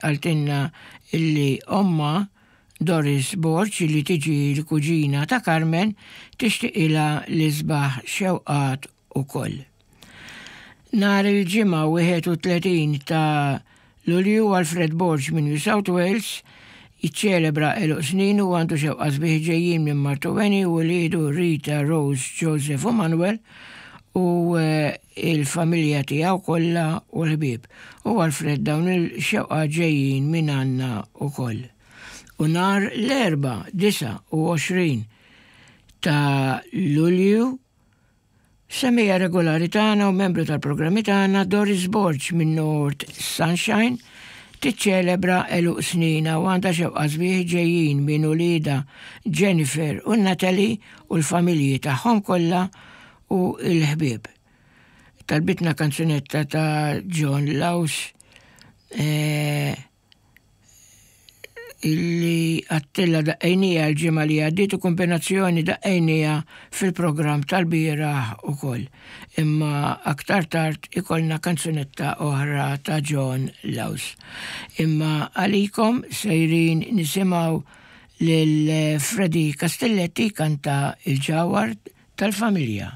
Qaltilna illi ommha, Doris Borg, illi tiġi l-kuġina ta' Carmen, tixtiqilha l-isbaħ xewqat ukoll. Nhar il-Ġimgħa 31 ta' Lulju Alfred Borg minn New South Wales jiċċelebra għeluq sninu u għandu xewqa sbieħ ġejjin minn martu Annie u wliedu Rita, Rose, Joseph u Manuel u il-familja tiegħu kollha u l-ħbieb. U Alfred dawn il-xewqat ġejjin minn għandna wkoll. U nhar l-Erbgħa 29 ta' Lulju, semmiegħa regolari tagħna u membru tal-programmi tagħna Doris Borg minn North Sunshine tiċċelebra għeluq sninha u għandha xewqa sbieħ ġejjin minn uliedha Jennifer u Natalie u l-familji tagħhom kollha u l-ħbieb. Talbitna kanzunetta ta' John Laus eh, illi għattilla daqqejnija l-ġimgħa li għaddiet u kombinazzjoni daqqejnija fil-programm tal-bieraħ ukoll. Imma aktar tard ikollna kanzunetta oħra ta' John Laus. Imma għalikom sejrin nisimgħu lil Freddy Castelletti kanta il-ġawar tal-familja.